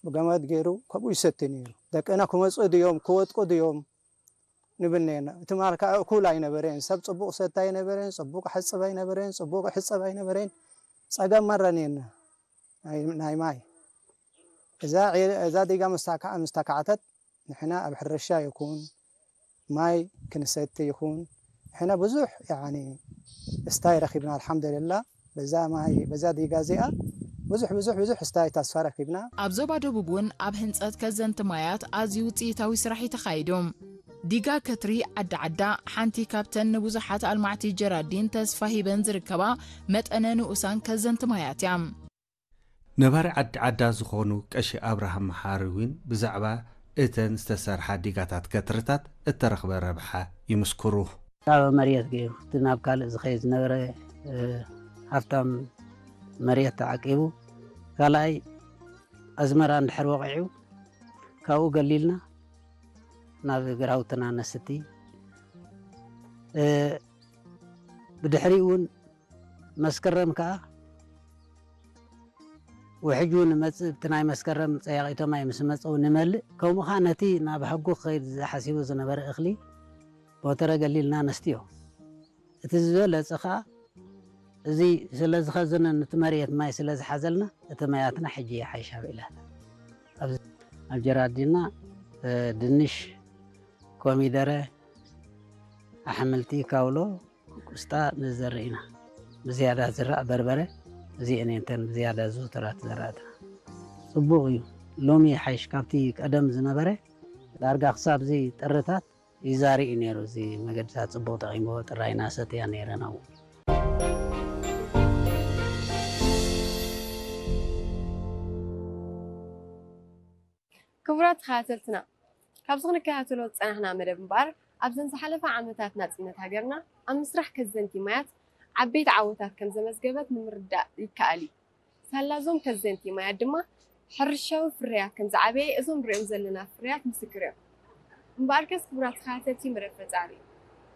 ብገመድ ገይሩ ከምኡ ይሰቲ ነይሩ። ደቅና ክመፁ ድዮም ክወጥቁ ድዮም ንብል ነርና። እቲ ማል ከዓ እኩል ኣይነበረን። ሰብ ፅቡቕ ሰቲ ኣይነበረን፣ ፅቡቕ ሕፅብ ኣይነበረን፣ ፅቡቕ ሕፀብ ኣይነበረን። ፀገም ማራ ነርና ናይ ናይ ማይ። እዛ ዒ- እዛ ዲጋ ምስ ታካ- ምስ ተካዕተት ንሕና ኣብ ሕርሻ ይኹን ማይ ክንሰቲ ይኹን ንሕና ብዙሕ ያኒ እስታይ ረኺብና ኣልሓምዱልላ። በዛ ማይ በዛ ዲጋ እዚኣ ብዙሕ ብዙሕ ብዙሕ እስታይ ተስፋ ረኺብና። ኣብ ዞባ ደቡብ እውን ኣብ ህንፀት ከዘንቲ ማያት ኣዝዩ ውፅኢታዊ ስራሕ እዩ ተኻይዱ። ዲጋ ከትሪ ዓዲ ዓዳ ሓንቲ ካብተን ንብዙሓት ኣልማዕቲ ጀራዲን ተስፋ ሂበን ዝርከባ መጠነ ንኡሳን ከዘንቲ ማያት እያ። ነባሪ ዓዲ ዓዳ ዝኾኑ ቀሺ ኣብርሃም መሓሪ እውን ብዛዕባ እተን ዝተሰርሓ ዲጋታት ከትርታት እተረኽበ ረብሓ ይምስክሩ። ካብ መሬት ገይሩ እቲ ናብ ካልእ ዝኸይድ ዝነበረ ሃፍታም መሬት ተዓቂቡ ካልኣይ ኣዝመራ እንድሕር ወቒዑ ካብኡ ገሊልና ናብ ግራውትና ነስቲ ብድሕሪኡ እውን መስከረም ከዓ ውሕጁ ንመፅእ እቲ ናይ መስከረም ፀያቒቶ ማይ ምስ መፀው ንመልእ ከምኡ ከዓ ነቲ ናብ ሕጉ ክኸይድ ዝሓሲቡ ዝነበረ እኽሊ ሞተረ ገሊልና ነስትዮ እቲ ዝበለፀ ከዓ እዚ ስለ ዝኸዘነን እቲ መሬት ማይ ስለ ዝሓዘልና እቲ ማያትና ሕጂ ይሓይሽ ኣብ ኢላታ ኣብ ጀራዲና ድንሽ ኮሚደረ ኣሕምልቲ ካውሎ ቁስጣ ንዘርእ ኢና ብዝያዳ ዝራእ በርበረ እዚአን እየን እተን ብዝያዳ ዝዝውተራ ዝዘራእትና ፅቡቕ እዩ ሎሚ ይሓይሽ ካብቲ ቀደም ዝነበረ ዳርጋ ክሳብ እዚ ጥርታት ይዛሪ እዩ ነይሩ እዚ መገድታት ፅቡቕ ጠቒምዎ ጥራይ ናሰትያ ነይረን ኣብኡ ክቡራት ተኸታተልትና ካብዚ ክንከታተሎ ዝፀናሕና መደብ እምበኣር ኣብዘን ዝሓለፋ ዓመታት ናፅነት ሃገርና ኣብ ምስራሕ ከዘንቲ ማያት ዓበይቲ ዓወታት ከምዘመዝገበት ንምርዳእ ይከኣል እዩ። ሳላ እዞም ከዘንቲ ማያት ድማ ሕርሻዊ ፍርያት ከምዝዓበየ እዞም ንሪኦም ዘለና ፍርያት ምስክር እዮም። እምበኣርከስ ክቡራት ተኸታተልቲ መደብ ፈፃሪ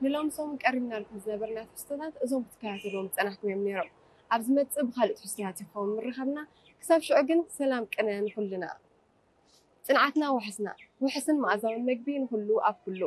ንሎም ሰሙን ቀሪብናልኩም ዝነበርና ትሕዝቶታት እዞም ክትከታተልዎም ዝፀናሕኩም እዮም ነይሮም። ኣብ ዝመፅእ ብካልእ ትሕዝቶታት ይኸውን ምርኻብና። ክሳብ ሽዑ ግን ሰላም ቅነ ንኹልና። ፅንዓትና ውሕስና ውሕስን መኣዛውን መግቢ ንኹሉ ኣብ ኩሉ።